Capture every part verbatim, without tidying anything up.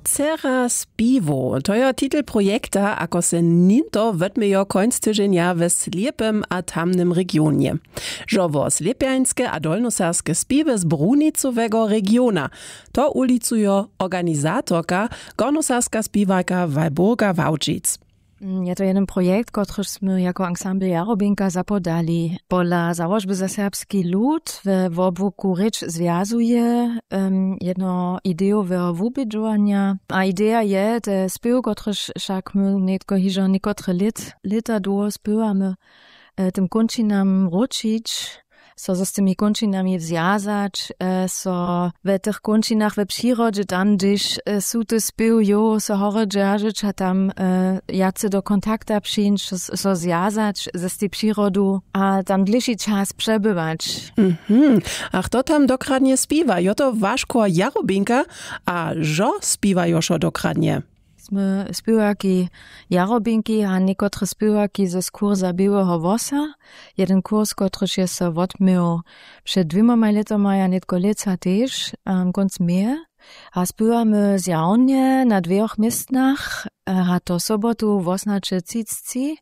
Dcera spiwow, to jo titel projekta ako se ninto wotmějo końc tyženja we slěpym a tamnym regionje. Žo wo slěpjańske a dolnoserbske spiwy z brunicowego regiona, to ulicujo organizatorka, gornoserbska spiwarka walburga wałdźic. Je to jeden projekt kotryž smy jako ansambl jarobinka zapodali pola załožby za serbski lud we wobłuku rěč zwjazuje jedno idejoweho wubědźowanja. A ideja je te spěw kotryž wšak my nětko hižo někotre lět lěta dołho spěwamy, tym kónčinam wróćić, so z tymi kónčinami zwjazać, so we tych kónčinach we přirodźe tam hdźež su te spěw jow so horje dźeržeć a tam wjace do kontakta přińć, so zwjazać z tej přirodu a tam dlěši čas přebywać. Mhm. A chto tam dokradnje spiwa jo to waš chór jarobinka? A žo spiwajo šo dokradnje? Smy spěwarki jarobinki a někotre spěwarki z kursa běłeho włosa. Jeden kurs kotryž je so wotměł před dwěmamaj lětomaj a nětko lětsa tež kónc meje. A spěwamy zjawnje na dwěch městnach, a to sobotu wosnaće třicci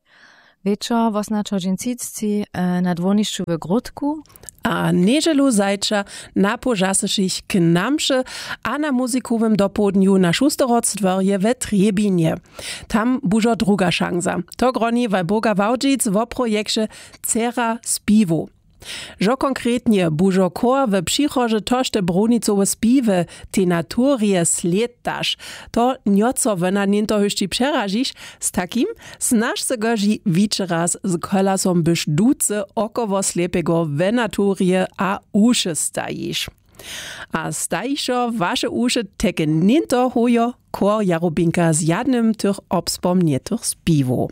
wječor wosnaće hodźin třicci na dwórnišću w gródku. A njedźelu zajča na połžasyšich k namše a na muzikowym dopołdnju na šusterhorcdworje we trjebinje. Tam bužo druga šansa. To groni walburga wałdźic wo projekće dcera spiwow. Žo konkretnje bužo chór we přichodźe tošte brunicowe spiwy tej naturje slědtaš, to njoco wona něnto hyšći přeražiš, z takim snaž se goži wićeraz z kolasom byš duce około slěpego we naturje a uše stajiš. A stajišo waše uše teke něnto hojo chór jarubinka z jadnym tych obspomnjetych spiwow.